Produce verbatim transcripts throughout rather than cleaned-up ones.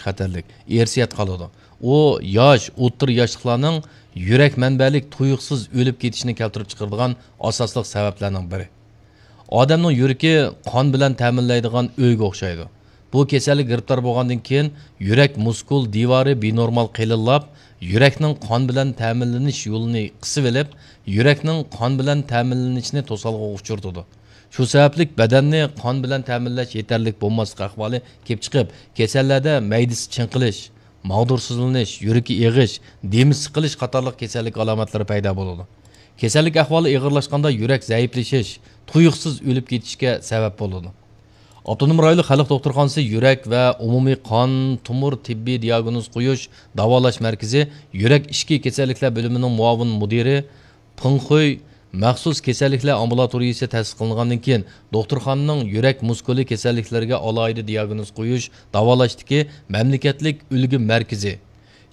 خەتەرلىك، ئىرسىيەت قالىدۇ. ئۇ ياش، ئوتتۇرا ياشلىقلارنىڭ يۈرەك مەنبەلىك تۇيۇقسىز ئۆلۈپ كېتىشىنى كەلتۈرۈپ چىقىرىدىغان ئاساسلىق سەۋەبلەرنىڭ بىرى. ئادەمنىڭ يۈرىكى قان بىلەن تەمىنلەيدىغان ئۆيگە ئوخشايدۇ. بۇ كېسەلگە گىرىپتار بولغاندىن كېيىن، يۈرەك مۇسكۇل دىۋارى بىنورمال قېلىنلاپ، يۈرەكنىڭ قان بىلەن تەمىنلىنىش يولىنى قىسىۋېلىپ، يۈرەكنىڭ قان بىلەن تەمىنلىنىشىنى توسالغۇغا ئۇچرىتىدۇ. شۇ سەۋەبلىك بەدەننى قان بىلەن تەمىنلەش يېتەرلىك بولماسلىق ئەھۋالى كېلىپ چىقىپ، كېسەللەردە مەيدىسى چىڭقىلىش، ماغدۇرسىزلىنىش، يۈرىكى ئېغىش، دېمى سىقىلىش قاتارلىق كېسەللىك ئالامەتلىرى پەيدا بولىدۇ. كېسەللىك ئەھۋالى ئېغىرلاشقاندا يۈرەك زەئىپلىشىش، تۇيۇقسىز ئۆلۈپ كېتىشكە سەۋەب بولىدۇ. ئاپتونوم رايونلۇق خەلق دوختۇرخانىسى يۈرەك ۋە ئومۇمىي قان تومۇر تېببىي دىياگنوز قويۇش، داۋالاش مەركىزى يۈرەك ئىچكى كېسەللىكلەر بۆلۈمىنىڭ مۇئاۋىن مۇدىرى پېڭ خۇي مەخسۇس كېسەللىكلەر ئامبۇلاتورىيىسى تەسىس قىلىنغاندىن كېيىن، دوختۇرخانىنىڭ يۈرەك مۇسكۇلى كېسەللىكلىرىگە ئالاھىدە دىياگنوز قويۇش، داۋالاشتىكى مەملىكەتلىك ئۈلگە مەركىزى،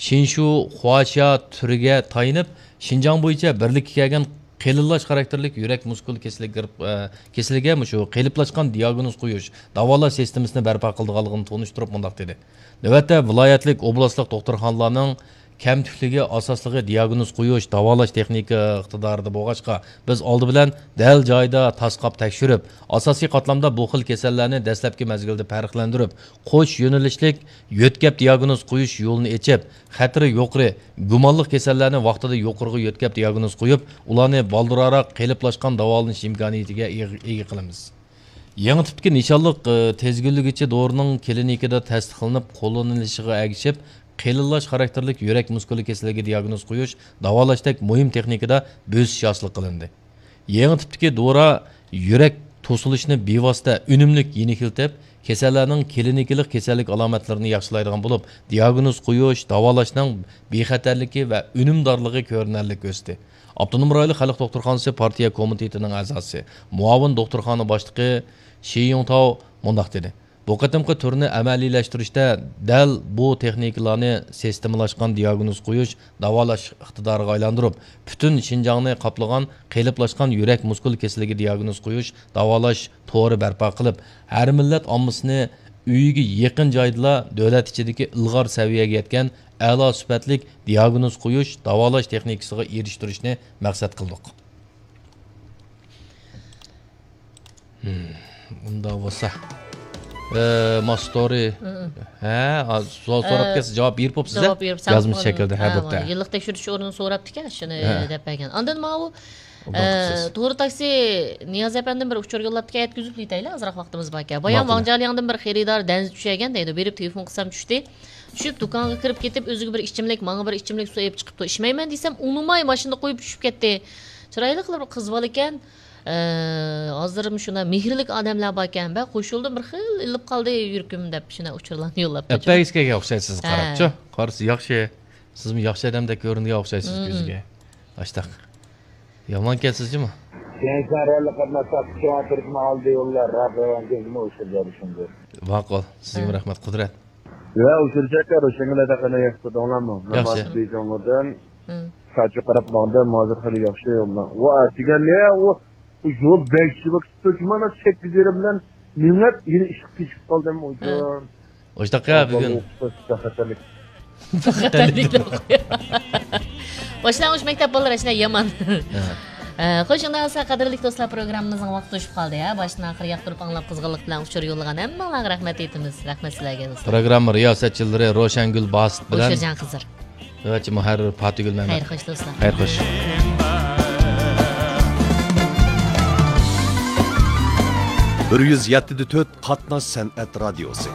شىنشۇ خۇاشيا تۈرىگە تايىنىپ، شىنجاڭ بويىچە بىرلىككە كەلگەن قېلىنلاش خاراكتېرلىك يۈرەك مۇسكۇل كېسىلىگە گىرىپ-، ئە، كېسىلىگە مۇشۇ قېلىپلاشقان دىياگنوز قويۇش، داۋالاش سىستېمىسىنى بەرپا قىلىدىغانلىقىنى تونۇشتۇرۇپ مۇنداق دېدى: نۆۋەتتە ۋىلايەتلىك، ئوبلاستلىق دوختۇرخانىلارنىڭ كەمتۈكلۈكى ئاساسلىقى دىياگنوز قويۇش، داۋالاش تېخنىكا ئىقتىدارىدا بولغاچقا، بىز ئالدى بىلەن دەل جايىدا تاسقاپ تەكشۈرۈپ، ئاساسىي قاتلامدا بۇ خىل كېسەللەرنى دەسلەپكى مەزگىلدە پەرقلەندۈرۈپ، قوش يۆنىلىشلىك يۆتكەپ دىياگنوز قويۇش يولىنى ئېچىپ، خەتىرى يۇقىرى، گۇمانلىق كېسەللەرنى ۋاقتىدا يۇقىرىغا يۆتكەپ دىياگنوز قويۇپ، ئۇلارنى بالدۇرراق قېلىپلاشقان داۋالىنىش ئىمكانىيىتىگە ئىگە، ئىگە قىلىمىز. يېڭى تىپتىكى نىشانلىق، ئى، تىزگىنلىگۈچى دورىنىڭ كلىنىكىدا تەستىقلىنىپ قوللىنىلىشىغا ئەگىشىپ، قېلىنلاش خاراكتېرلىك يۈرەك مۇسكۇلى كېسىلىگە دىياگنوز قويۇش، داۋالاشتەك مۇھىم تېخنىكىدا بۆسۈش ھاسىل قىلىندى. يېڭى تىپتىكى دورا يۈرەك توسۇلۇشىنى بىۋاسىتە ئۈنۈملۈك يېنىكلىتىپ، كېسەللەرنىڭ كلىنىكىلىق كېسەللىك ئالامەتلىرىنى ياخشىلايدىغان بولۇپ، دىياگنوز قويۇش، داۋالاشنىڭ بىخەتەرلىكى ۋە ئۈنۈمدارلىقى كۆرۈنەرلىك ئۆستى. ئاپتونوم رايونلۇق خەلق دوختۇرخانىسى پارتىيە كومىتېتىنىڭ ئەزاسى، مۇئاۋىن دوختۇرخانا باشلىقى شى يۇڭتاۋ مۇنداق دېدى: بۇ قېتىمقى تۈرنى ئەمەلىيلەشتۈرۈشتە دەل بۇ تېخنىكىلارنى سىستېمىلاشقان دىياگنوز قويۇش، داۋالاش ئىقتىدارىغا ئايلاندۇرۇپ، پۈتۈن شىنجاڭنى قاپلىغان قېلىپلاشقان يۈرەك مۇسكۇل كېسىلىگە دىياگنوز قويۇش، داۋالاش تورى بەرپا قىلىپ، ھەر مىللەت ئاممىسىنى ئۆيىگە يېقىن جايدىلا دۆلەت ئىچىدىكى ئىلغار سەۋىيەگە يەتكەن ئەلا سۈپەتلىك دىياگنوز قويۇش، داۋالاش تېخنىكىسىغا ئېرىشتۈرۈشنى مەقسەت قىلدۇق. ھىم، ئۇنداق بولسا. ئە، ماستورى. ھە، ھە، سوئال سوراپ ئە، كەلسە جاۋاب بېرىپ بوپسىز، جاۋاب بېرىپ يازمىش شەكىلدە، ھە، ھە، بوپتۇ. يىللىق تەكشۈرۈش ئورنىدىن سوراپتىكەن شۇنى، ھە، دەپ بەرگەن. ئاندىن ماۋۇ، ئۇنداق ئە، قىلسىز. تورى تاكسى نىياز ئەپەندىم بىر ئۇچۇر يوللاپتىكەن، يەتكۈزۈپ ئېيتايلى، ئازراق ۋاقتىمىز باركەن. بايام ماقۇل. ۋاڭجيالياڭدىن بىر خېرىدار دەنزە چۈشەگەن دەيدۇ. بېرىپ تېلېفون قىلسام چۈشتى. چۈشۈپ دۇكانغا كىرىپ كېتىپ، ئۆزىگە بىر ئىچىملىك، ماڭا بىر ئىچىملىك سۇ ئېلىپ چىقىپتۇ. ئىچمەيمەن دېسەم، ئۇنىماي ماشىنىدا قويۇپ چۈشۈپ كەتتى. چىرايلىق بىر قىز بالا ئىكەن. ئە، ھازىرمۇ شۇنداق مېھىرلىك ئادەملەر باركەن. بە، قوشۇلدۇم، بىر خىل ئېلىپ قالدى يۈرىكىم دەپ شۇنداق ئۇچۇرلارنى يوللاپ قويدۇم. ئەپەگىز كەلگەن ئوخشايسىز، ھە. قاراپچۇ. قارىسا ياخشى. سىزمۇ ياخشى ئادەمدەك كۆرۈنگەن ئوخشايسىز، مم، كۆزىگە. ئاشتاق. يامانكەنسىز جۇمۇ. كېيىن سەن رەللىق قاتناش تاپقۇچىغا تۈركمە ئالدى يوللار، راق رەۋەن كۆزىمۇ ئۇشتۇرجاق شۇندۇر. ماقۇل. سىزگىمۇ ھە. رەھمەت، قۇدرەت. ۋە ئۇچۇرجاكا، روشەنگۈل ھەدەقىنى ياخشى تۇردۇڭلارمۇ؟ مەن ياخشى. ماس بېيجىڭدىن ھە. ساچۇ قاراپ ماڭدىم، ھازىر خېلى ياخشى يوللار. ۋە ئەتىگەن نە ئۇ، ئۇ يول بەك شىۋىك تۇتۇش، مانا سەككىز يېرىم بىلەن مېڭىپ، يەنە ئىشقا كېچىكىپ قالدىم، ھە. ئۇجۇن. ئوشتاققا بۈگۈن. باشلانغۇچ مەكتەپ بالىلار ئەشۇنداق يامان. ھە. ئە، خوش، ئۇنداق بولسا، قەدىرلىك دوستلار، پروگراممىمىزنىڭ ۋاقتى توشۇپ قالدى، ھە. باشتىن ئاخىر ياقتۇرۇپ ئاڭلاپ، قىزغىنلىق بىلەن ئۇچۇر يوللىغان ھەممىڭلارغا رەھمەت ئېيتىمىز. رەھمەت سىلەرگە، دوستلار. پروگرامما رىياسەتچىلىرى روشەنگۈل باسىت بىلەن ئوشۇرجان خىزىر. نۆۋەتچى مۇھەررىر پاتىگۈل مەمەت. خەير خوش، دوستلار. خەير خوش. بىر يۈز يەتتە دە تۆت قاتناش سەنئەت رادىيوسى.